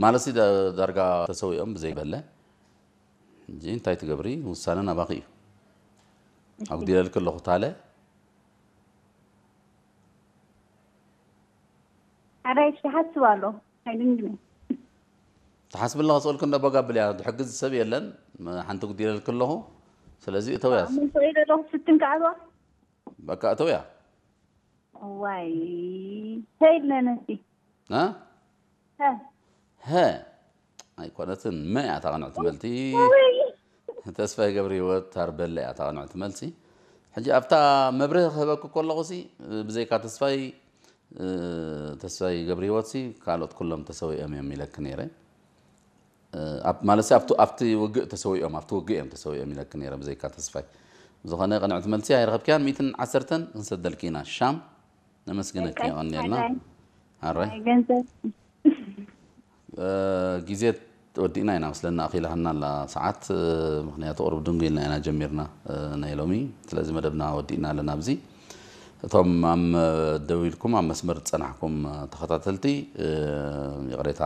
ማለት ሲ ዳርጋ ተሰዊኦም ብዘይበለ እንጂ እንታይ ትገብሪ ውሳነ ናባኺ እዩ። ኣጉዲለልክ ኣለኹ ታለ ኣዳይ ትሓስብ ኣሎ ኣይድንግነ ትሓስብላ ክስእልክ እንደ በጋብል እያ ዝሕግዝ ሰብ የለን። ሓንቲ ጉዲለልክ ኣለኹ። ስለዚ እተውያስ ምን ተወይ ዘለኹ ስትን ከዓልዋ በቃ እተውያ ዋይ ተይልነ ነሲ እ? ሀ ሀ ኣይኮነትን መ እያ ታቕንዕቲ መልቲ። ተስፋይ ገብረ ህይወት ታርበለ እያ ታቕንዕቲ መልሲ። ሕጂ ኣብታ መብርህ ክህበክ ከለኹ ሲ ብዘይካ ተስፋይ ተስፋይ ገብረ ህይወት ሲ ካልኦት ኩሎም ተሰዊኦም እዮም ኢለክ ነይረ። ማለት ኣብቲ ውግእ ተሰዊኦም ኣብቲ ውግእ እዮም ተሰዊኦም ኢለክ ነይረ ብዘይካ ተስፋይ። ብዝኾነ ቅንዕቲ መልሲ ኣይረኸብክያን። ሚእትን ዓሰርተን ክንሰደልክ ኢና ሻም። ነመስግነክ የቐንየልና። ኣራይ ገንዘብ ግዜ ወዲእና ኢና መስለና ኣኺላህና ኣላ ሰዓት። ምክንያቱ ቁሩብ ድንጉ ኢልና ኢና ጀሚርና ናይ ሎሚ። ስለዚ መደብና ወዲእና ኣለና ኣብዚ። እቶም ኣብ ደው ኢልኩም ኣብ መስመር ዝጸናሕኩም ተኸታተልቲ ይቕሬታ